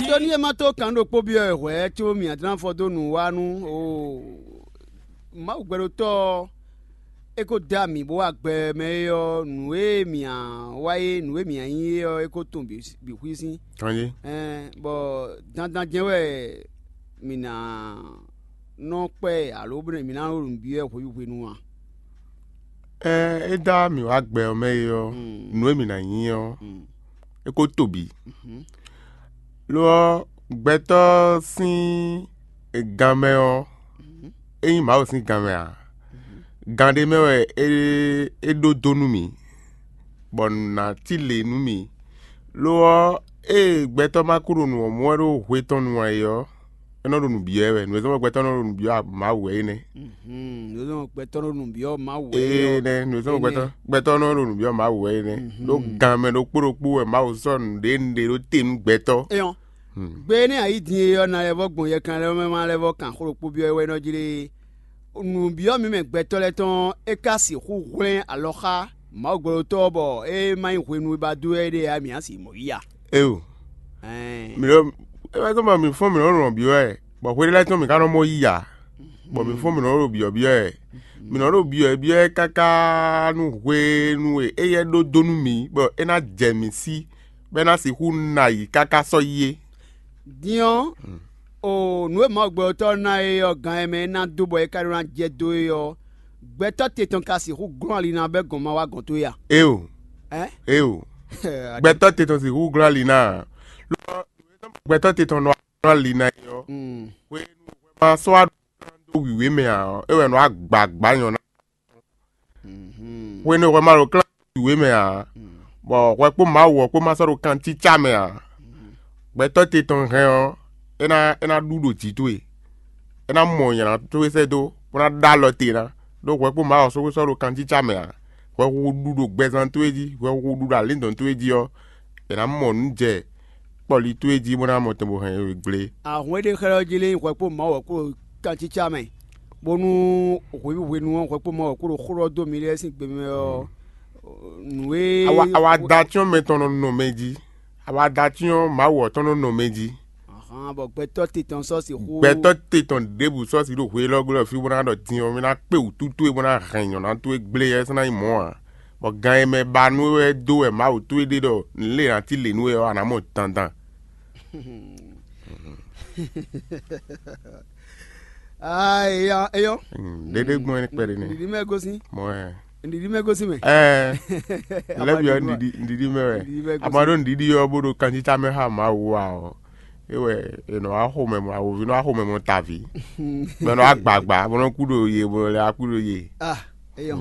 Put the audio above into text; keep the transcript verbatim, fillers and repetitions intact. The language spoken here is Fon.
Tó ní é má tó kan ɖokpó byɔ́ wɛ hwɛ̌ có mǐ adlán fɔ dó nǔ wa nú o Mawu gbɛɖótɔ́ ɔ́, é ko dó amǐ bó wá gbɛ mɛ é ɔ́, nǔ e mǐ wa é, nǔ e mǐ nyí é ɔ́, é ko tunwun bǐ xwísín. Kanjí. Ɛn bɔ dandan jɛ́n wɛ mǐ ná nɔ kpɛ alo bónú mǐ ná nɔ ɖo nǔ byɔ́ wɛ hweví hwenu a? Ɛɛ, é dó mǐ wá gbɛ ɔ́ mɛ é ɔ́, nǔ e mǐ ná nyí ɔ́, é ko to bǐ. Lo ɔ́, gbɛtɔ́ sín ganmɛ ɔ́, é nyí Mawu sín ganmɛ ǎ. Gan ɖé mɛ wɛ é é ɖó dó nú mǐ, bɔ nǔ ná cí lě nú mǐ. Lo ɔ́, ée gbɛtɔ́ ma kú ɖo nǔ ɔ́ mɔ wɛ ɖó hwe tɔn nu ǎ é ɔ́, é nɔ ɖo nǔ byɔ́ ɛ wɛ. Nǔ e zɔ́n bɔ gbɛtɔ́ nɔ ɖo nǔ byɔ́ Mawu wɛ é nɛ́. Nǔ e zɔ́n bɔ gbɛtɔ́ nɔ ɖo nǔ byɔ́ Mawu wɛ é Ee ɔ́. Nɛ́, nǔ e zɔ́n bɔ gbɛtɔ́ gbɛtɔ́ nɔ ɖo nǔ byɔ́ Mawu wɛ é nɛ́. Ɖó gan mɛ ɖokpó ɖokpó wɛ Mawu sɔ́ nǔɖé nǔɖé ɖó te nú gbɛtɔ́. É ɔ́, gbe énɛ́ a yí din e ɔ́, na lɛ́ vɔ́ gbɔn yɛkan lɛ́ɛ mɛ ma lɛ́ vɔ́ kan xó ɖokpó byɔ́ é wɛ nɔ jlé. Nǔbyɔ́ mǐmɛ gbɛtɔ́ lɛ́ɛ tɔn é ka sixú hwlɛ́n alɔ xá Mawu gbɛɖótɔ́ ɔ́, bɔ é ma nyí hwenu e ba dó wɛ é ɖe ǎ, mǐ á sixú mɔ yí a? Éo, Ɛɛn. mǐ ɖɔ é wɛ zɔ́n bɔ mǐ fɔ́n mǐ nɔ lɔn byɔ́ wɛ, bɔ hwe ɖé lɛ́ɛ tɔn mǐ ka nɔ mɔ yí ǎ, bɔ mǐ fɔ́n mǐ nɔ ɖo byɔ̌byɔ́ ɛ. Mǐ nɔ ɖo byɔ̌byɔ́ ɛ káká nú hwenu e éyɛ́ ɖó dó nú mǐ, bɔ é ná jɛ mǐ sí, bɔ é ná sixú ná yi káká sɔ́ yi é. Din ɔ́, o nǔ e Mawu gbɛtɔ́ ná é ɔ́, gan e mɛ é ná dó bɔ é ka ɖó ná jɛ dó é ɔ́, gbɛtɔ́ te tɔn ka sixú glɔ́n ali ná bɛ́ gɔn ma wá gɔn towe a? Éo, Ɛ? Éo, gbɛtɔ́ te tɔn sixú glɔ́n ali ná ǎ. Lo ɔ́, gbɛtɔ́ te tɔn nɔ glɔ́n ali ná é ɔ́, Mm. hwenu e hwɛ ma sɔ́ wá ɖó wǐwé mɛ ǎ ɔ́, é wɛ nɔ wá gbǎgbá nyɔ̌ná. Hwenu e hwɛ ma ɖo klán wǐwé mɛ ǎ, bɔ hwɛ kpó Mawu ɔ́ kpó ma sɔ́ ɖo kancícá mɛ ǎ, gbɛtɔ́ te tɔn hɛn ɔ́, é ná é ná ɖu ɖo jǐ towe, é ná mɔ nyǎná towe sɛ́ dó, bó ná ɖó alɔ te ná, ɖó hwɛ kpó Mawu ɔ́ sɔ́ sɔ́ ɖo kancícá mɛ ǎ. Hwɛ hu ɖu ɖo gbɛzán towe jí, hwɛ hu ɖu ɖo alǐndɔ̌n towe jí ɔ́, è nǎ mɔ nǔ jɛ kpɔli towe jí bó ná mɔ tɛn bó hɛn we gblé. Ahɔn e ɖe xlɛ́ ɔ́ jí lé nyí hwɛ kpó Mawu wɛ kpó ɖo kancícá mɛ, bónú hweví hwenu ɔ́ hwɛ kpó Mawu wɛ kpó ɖo xó ɖɔ dó mi lɛ́ɛ sín gbe mɛ ɔ́, nǔ e Awa awa da cyɔ́n mɛ tɔn nɔ nɔ mɛ jí. Awa da cyɔ́n Mawu ɔ́ tɔn nɔ nɔ mɛ jí. Ahán, bɔ gbɛtɔ́ te tɔn sɔ́ sixú Gbɛtɔ́ te tɔn ɖěbǔ sɔ́ si ɖo hwe élɔ́ gbe ɖɔ fí bó ná ɖɔ din ɔ́, mì ná kpé wǔtu towe bó ná hɛn nyɔ̌ná towe gblé ɔ́, é sɔ́ ná nyí mɔ̌ ǎ. Bɔ gan e mɛ ba nú we wɛ dó wɛ Mawu towe ɖe ɖɔ nǔ lě ná cí lě nú we ɔ́, a nǎ mɔ dandan. Ah, eyɔ, eyɔ. Ɖéɖé gbɔn é kpɛɖé nɛ́. Nɖiɖi mɛ gosín. Mɔ ɛ. Nɖiɖi mɛ gosín mɛ. Ɛɛ, lɛ́ byɔ́ nɖiɖi nɖiɖi mɛ wɛ. Nɖiɖi mɛ gosín. Ama ɖó nɖiɖi ɔ́ bó ɖo kanjítá mɛ xá Mawu ǎ ɔ́, é wɛ è nɔ wá xomɛ mɔ awǒvi nɔ wá xomɛ mɔ taví. Bɔ è nɔ wá gbǎgbá, bó nɔ kú ɖo ye, bó nɔ lɛ́ wá kú ɖo ye. Ah, eyɔ.